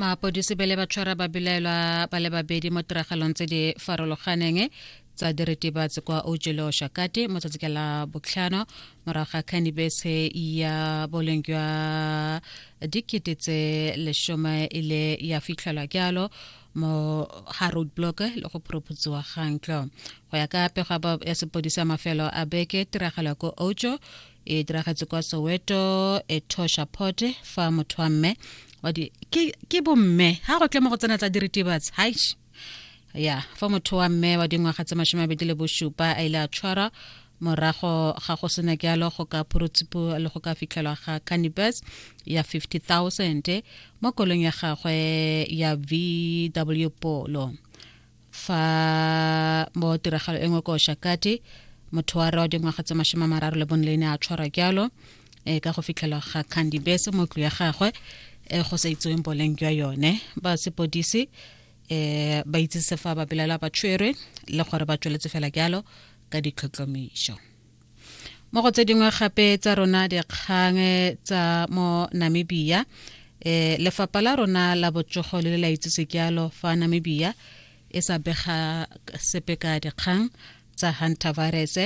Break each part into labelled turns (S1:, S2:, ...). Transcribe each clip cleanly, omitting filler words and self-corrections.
S1: Mapodisi bele ba tshwara babelaelwa ba le babedi mo tiragalong tse di farologaneng tsa diritibatsi kwa Ojelo Shakati mo tsatsi ka la botlhano morago ga khanibese ya boleng jwa 10,000 e ile ya fitlhelwa jalo mo ga roadblock le go phuruphutsiwa ga ntlo. Go ya ka pego ya sepodisi ya mafelo a beke, tiragalo ya ko Ojo e diragetse kwa Soweto Etosha Port fa motho wa mme wa di ke bomme ha go tle mo go tsena tsa diritibatsi haish ya fa motho wa mme wa dingwaga tse 27 a ile a tshwarwa morago ga go sena jalo go ka phurutshipo le go ka fitlhelwa ga cannabis ya 50,000 mo kolong ya gagwe ya VW Polo. Fa mo tiragalo e nngwe ko Shakati, motho wa re wa dingwaga tse 34 le ne a tshwarwa jalo e ka go fitlhelwa ga cannabis mo tlo ya gagwe e go sa itseweng boleng jwa yone. Ba sepodisi ba itsise fa ba belaelwa ba tshwerwe le gore ba tsweletse fela jalo ka ditlhotlhomišo. Mo go tse dingwe gape tsa rona dikgang tsa mo Namibia, lefapha la rona la botsogo le le la itsise jalo fa Namibia e sa bega sepe ka dikgang tsa hantavirus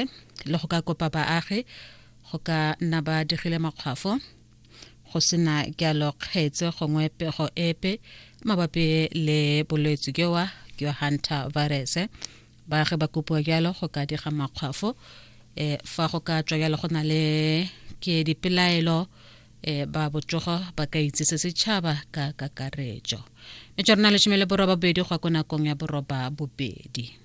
S1: le go ka kopa baagi go ka nna ba digile makgwafo go sena jalo kgetse gongwe pego epe mabapi le bolwetse jowa jwa hantavirus. Baagi ba kopiwa jalo go ka diga makgwafo fa go ka tswa jalo go na le ke dipelaelo ba botsogo ba ka itsise setšhaba ka kakaretso. Metswa rona 18 go ya ko nakong ya 8.